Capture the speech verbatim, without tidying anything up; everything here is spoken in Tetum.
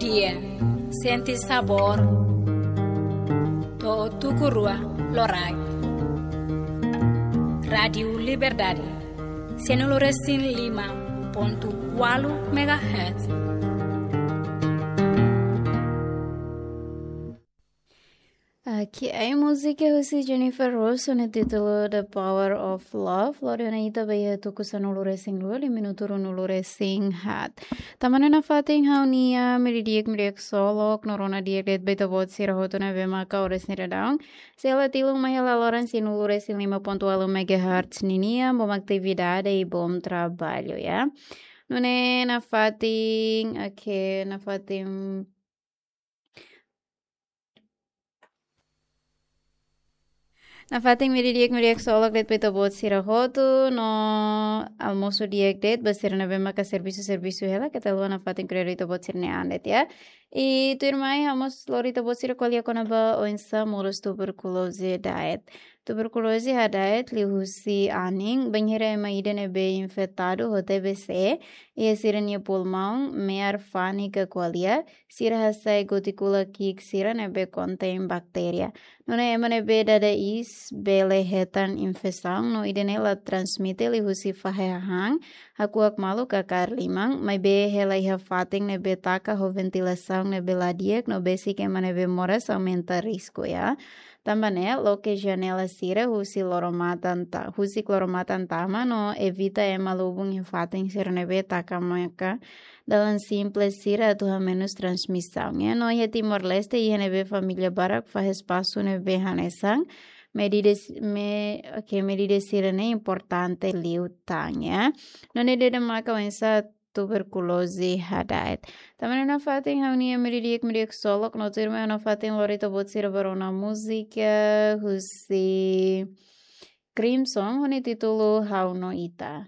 Dia, sente sabór. To'o tuku rua loraik. Rádiu Liberdade, sanulu resin lima pontu ualu megahertz. Oke, ai múzika husi Jennifer Rose ho títulu The Power of Love. Lori ona ita ba iha tuku sanulu resin rua, liu minutu ruanulu resin haat. Tanba ne'e nafatin ha'u-nia media di'ak, media ksolok, no rona di'ak de'it ba ita-boot sira hotu ne'ebé maka oras ne'e daudaun sei hela tilun mai hela loron sanulu resin lima pontu ualu megahertz ninian, bom atividade i bom trabalho, ya. Nune'e nafatin, oke, nafatin Nafatin media di'ak, media ksolok de'it ba ita-boot sira hotu, no almosu di'ak de'it ba sira ne'ebé maka servisu, servisu hela, keta haluha nafatin ko'alia ita-boot sira-nia an de'it, ya. I tuirmai ha'u mós lori ita-boot sira ko'alia kona-ba oinsá moras tuberkuloze da'et. Tuberkuloze hada'et liuhusi anin, bainhira ema ida ne'ebé infetadu ho T B C iha sira-nia pulmaun, me'ar fani ka ko'alia, sira hasai gotíkula ki'ik sira ne'ebé kontein baktéria. Nune'e ema ne'ebé dada iis bele hetan infesaun no ida-ne'e la transmite liuhusi fahe hahán, hakuak malu ka kaer liman, maibé hela iha fatin ne'ebé taka ho ventilasaun ne'ebé la di'ak no besik ema ne'ebé moras aumenta risku, ya. Tanba ne'e, loke janela sira husi loro-matan ta-, husik loro-matan tama no evita ema lubun iha fatin sira ne'ebé taka maka dalan simples sira atu hamenus transmisaun, ya. No iha Timor-Leste, iha ne'ebé família barak fahe espasu ne'ebé hanesan, medida s-, me, oke, medida sira-ne'e importante liután, ya. Nune'e ida-ne'e maka oinsá tuberkuloze hada'et. Tanba ne'e nafatin ha'u-nia media di'ak, media ksolok, no tuirmai ha'u nafatin lori ita-boot sira ba rona múzika husi Crimson ho títulu Ha'u no Ita.